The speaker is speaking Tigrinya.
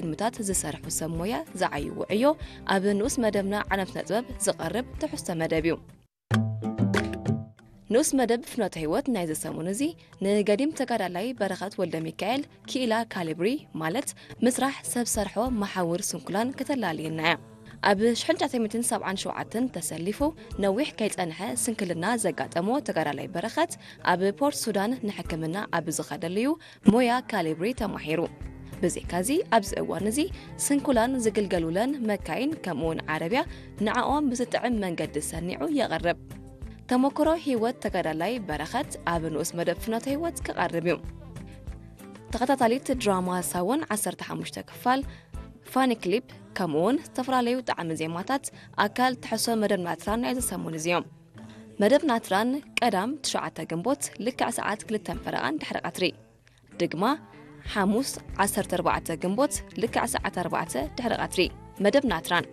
ፊልምታት ዝሰርሑ ሰብ ሞያ ዝዓይዎ ዕዮ ኣብ ንኡስ መደብና ዓለም ስነ ጥበብ ዝቐርብ ትሕዝቶ መደብ እዩ። ንኡስ መደብ ፍኖተ ህይወት ናይዚ ሰሙን እዚ ንገዲም ተጋዳላይ በረኸት ወልደ ሚካኤል ክኢላ ካሊብሪ ማለት ምስራሕ ሰብ ሰርሖ መሓውር ስንኩላን ከተላልየና እያ። ኣብ ሽሕን ትሽዓተ ሚእትን ሰብዓን ሸውዓተን ተሰሊፉ ነዊሕ ከይጸንሐ ስንክልና ዘጋጠሞ ተጋዳላይ በረኸት ኣብ ፖርት ሱዳን ንሕክምና ኣብ ዝኸደሉ እዩ ሞያ ካሊብሪ ተማሂሩ። ብዘይካዚ ኣብዚ እዋን እዚ ስንኩላን ዝግልገሉለን መካይን ከምኡውን ዓረብያ ንዓኦም ብዝጥዕም መንገዲ ሰኒዑ የቕርብ። ተመክሮ ህይወት ተጋዳላይ በረኸት ኣብ ንኡስ መደብ ፍኖተ ህይወት ክቐርብ እዩ። ተኸታታሊት ድራማ ሳውን ዓሰርተ ሓሙሽተ ክፋል ፋኒ ክሊፕ ከምኡውን ዝተፈላለዩ ጣዕሚ ዜማታት ኣካል ትሕሶ መደብ ናትራን ናይ ዝሰሙን እዚ እዮም። መደብ ናትራን ቀዳም ትሽዓተ ግንቦት ልክዕ ሰዓት ክልተን ፈረቓን ድሕሪ ቀትሪ። ድግማ ሓሙስ ዓሰርተ ኣርባዕተ ግንቦት ልክዕ ሰዓት ኣርባዕተ ድሕሪ ቀትሪ። መደብ ናትራን